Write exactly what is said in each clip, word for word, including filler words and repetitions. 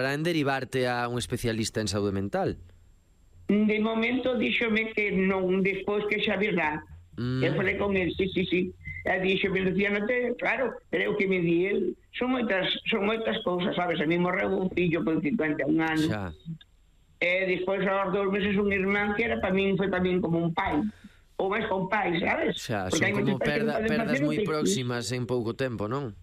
para en derivarte a un especialista en saúde mental? De momento díxome que non, despois que xa virá. Mm. Eu falei con el, sí, sí, sí. E díxome, Lucía, non te... Claro, pero o que me di el, son moitas, son moitas cousas, sabes? A mí morreu un fillo con cincuenta e un anos. Xa. E despois, aos dous meses, un irmán que era para min, foi para min como un pai. Ou máis con pai, sabes? Xa, son como perda, perdas moi próximas en pouco tempo, non?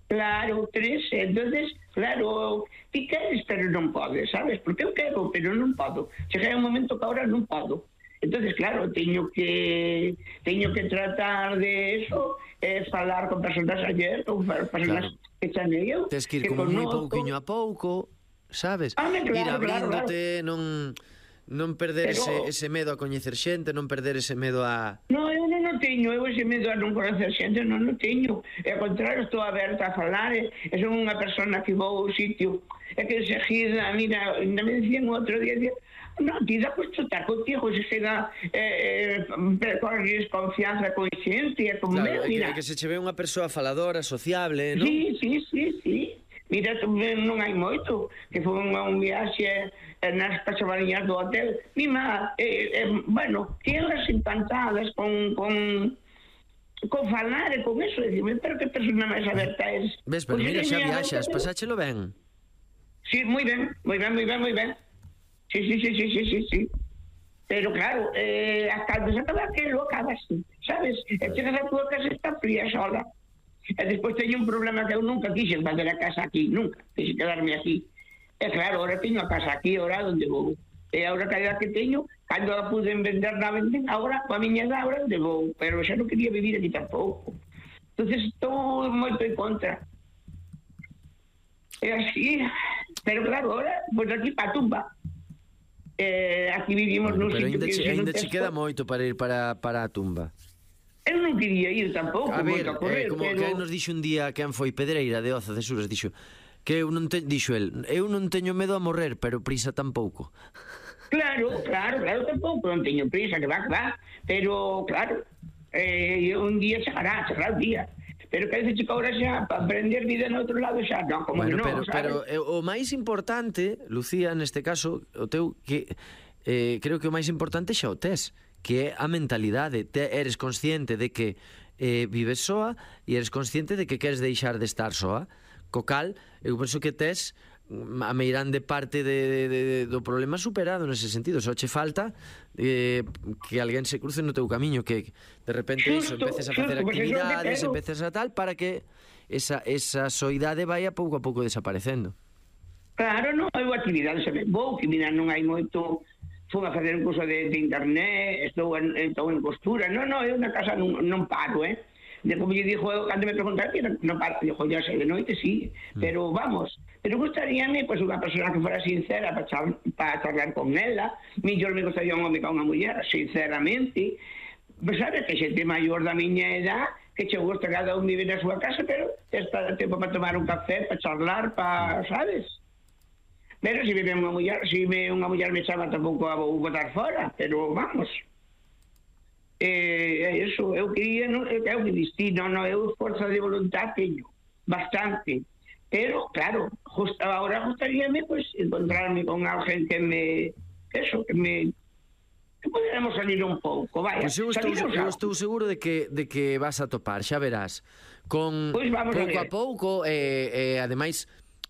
Claro, tres, entonces, claro, ti queres, pero non podes, sabes? Porque eu quero, pero non podo. Chega un momento que agora non podo. Entonces, claro, teño que teño que tratar de eso, eh, falar con personas ayer, con personas claro. que chamei eu. Tens que ir que como moi pouquiño a pouco, sabes? Ah, claro, ir abríndote, claro, claro. non non perder Pero... ese, ese medo a coñecer xente, non perder ese medo a... No, eu non o teño, eu ese medo a non coñecer xente non o teño. E ao contrario, estou aberta a falar, e, e son unha persona que vou ao sitio, e que seguida, mira, ainda me dicían outro día, día no, ti da cuesta estar contigo, se queda eh, eh, corres confianza con xente, e con claro, meu, mira. Que, que se che ve unha persoa faladora, sociable, non? Sí, sí, sí, sí. Mira, non hai moito, que foi un, un viaxe nas cachavariñas do hotel. Mima, eh, eh, bueno, tienes encantadas con, con, con falar e con eso, decime, pero que persona máis aberta es. Ves, pero pues mira, xa viaxas, pasáchelo ben. Sí, moi ben, moi ben, moi ben, moi ben. Sí, sí, sí, sí, sí, sí, sí. Pero claro, eh, hasta desacaba que lo acabas, sabes? E chegas a tua casa está fría sola. E despois teño un problema que eu nunca quixen fazer a casa aquí, nunca, quixen quedarme aquí. E claro, ahora teño a casa aquí, ahora onde vou. E ahora que a que teño, cando a puden vender na venden, ahora, a miña edad, ahora onde vou. Pero xa non quería vivir aquí tampouco. Entonces estou moito en contra. E así, pero claro, ahora, pois aquí pa tumba. Eh, aquí vivimos bueno, nun sitio que... Pero ainda che queda moito para ir para, para a tumba. Eu non quería ir tampouco, a ver, a correr, eh, como pero... que nos dixo un día quen foi Pedreira de Oza de Sures, dixo que eu non te... dixo el, eu non teño medo a morrer, pero prisa tampouco. Claro, claro, claro, tampouco, non teño prisa, que va, que va, pero claro, eh, un día chegará, chegará un día. Pero que dice chico ahora xa, para aprender vida no outro lado xa, non, como bueno, que non, pero, sabes? Pero eh, o máis importante, Lucía, neste caso, o teu, que eh, creo que o máis importante xa o tes, que é a mentalidade. Te, eres consciente de que eh, vives soa e eres consciente de que queres deixar de estar soa. Co cal, eu penso que tes a meirande parte de, de, de, do problema superado nese sentido. Só che falta eh, que alguén se cruce no teu camiño, que de repente xusto, iso, empeces a facer xusto, actividades, empeces a tal, para que esa, esa soidade vaya pouco a pouco desaparecendo. Claro, non, hai actividades, vou, que mira, non hai moito. Fui a facer un curso de, de internet, estou en, estou en costura. Non, non, eu na casa non, non paro, eh? De como lle dixo, cando me preguntaron, non paro, dixo, ya sei, de noite sí, mm. pero vamos, pero gustaríame, pois, pues, unha persona que fora sincera para char, pa charlar con ela, millor me gustaría un home con unha muller, sinceramente, pues, sabes, que xente maior da miña edad, que che gusta cada un vive na súa casa, pero está tempo para tomar un café, para charlar, para, sabes? Pero se vive unha muller, se me unha muller me chama, tampouco a vou botar fora, pero vamos. Eh, eso, eu quería, non, eu que destino, non, eu forza de voluntad teño, bastante. Pero, claro, justo ahora gustaríame, pues, encontrarme con alguén que me, eso, que me, que poderemos salir un pouco, vaya. Pois eu estou, eu estou seguro de que, de que vas a topar, xa verás. Con pues pouco a, a pouco, e eh, eh, ademais...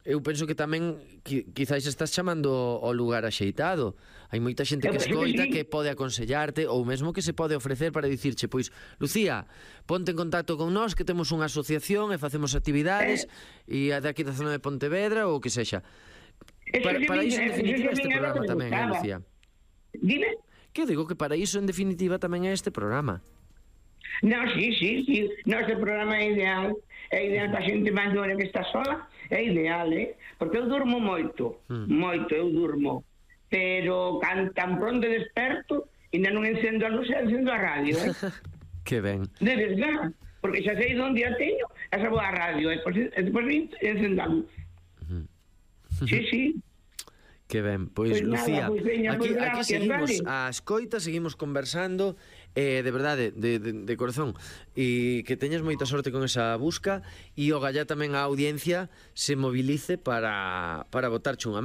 Eu penso que tamén qui, quizáis estás chamando ao lugar axeitado. Hai moita xente que escoita, que pode aconsellarte, ou mesmo que se pode ofrecer para dicirche, pois, Lucía, ponte en contacto con nós, que temos unha asociación e facemos actividades, e eh? daqui da zona de Pontevedra, ou que sexa. Para, para iso, en definitiva, este programa tamén, eh, Lucía? Dime? Que eu digo que para iso, en definitiva, tamén é este programa. No, sí, sí, sí. No, este programa é ideal. É ideal para a xente maior que está sola. É ideal, eh? Porque eu durmo moito. Mm. Moito, eu durmo. Pero can, tan pronto desperto, ainda non encendo a luz, encendo a radio, eh? Que ben. De verdad. Porque xa sei onde a teño, a xa vou a radio, e depois encendo a luz. Mm. Sí, sí. Que ben, pois, pues Lucía, nada, pues veña, aquí, pues aquí seguimos vale. A escoita, seguimos conversando, eh, de verdade, de, de, de corazón, e que teñas moita sorte con esa busca, e o gallá tamén a audiencia se movilice para, para botarche unha